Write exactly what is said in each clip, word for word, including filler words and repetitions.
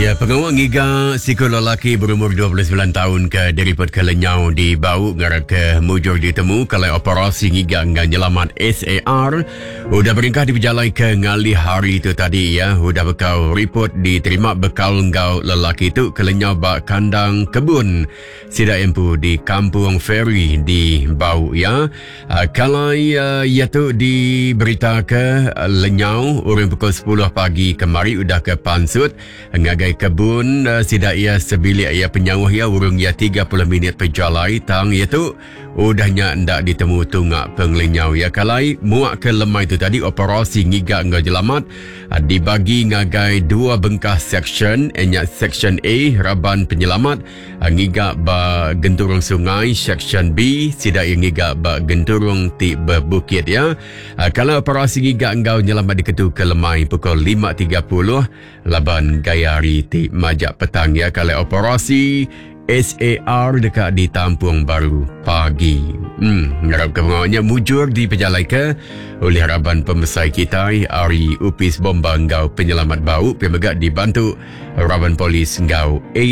Ya, pengawa ngiga siku lelaki berumur dua puluh sembilan tahun ke diripot ke lenyau di Bau ngarap ke mujur ditemu kalau operasi ngiga dengan nyelamat S A R udah berengkah diberjalai ke ngalih hari itu tadi ya. Udah bekal report diterima bekal ngau lelaki tu ke lenyau ba kandang kebun sida empu di Kampung Ferry di Bau ya. Uh, kalau uh, ia tu diberita ke uh, lenyau urang pukul sepuluh pagi kemari udah ke pansut ngagai kebun uh, sida ia sebilik ia penyauh ia urung ia tiga puluh minit perjalai tang ia tu udahnya ndak ditemu tungak penglenyau ya. Kalai muak ke lemai tu tadi operasi ngiga ngau jelamat uh, dibagi ngagai dua bengkah section, nya section A raban penyelamat uh, ngiga ba genturung sungai, section B sida ia ngiga ba genturung ti berbukit ya. Uh, kalau operasi ngiga ngau nyelamat diketu ke lemai pukul lima tiga puluh laban gaya hari ti majak petang ya. Kalau operasi S A R dekat ditampung baru pagi. Hmm, ngarap ke pengawalnya mujur diperjalai ke oleh harapan pembesar kita Ari Upis Bomba Ngau Penyelamat Bau pemegak dibantu Raban Polis Ngau A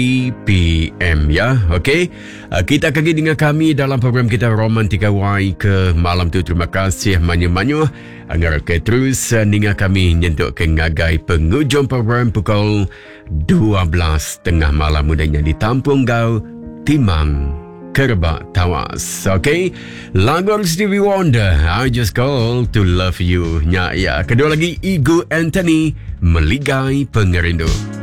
P M ya. Okey, kita akan dengan kami dalam program kita Romantika Y ke malam tu. Terima kasih manyu-manyu. Ngarap ke terus ninga kami nyentuk ke ngagai penghujung program pukul dua belas tengah malam mudanya ditampung gau Timang Kerbak Tawas. Okey, lagu Stevie Wonder, I Just Call to Love You. Nya ya. Kedua lagi Igu Anthony, Meligai Pengerindu.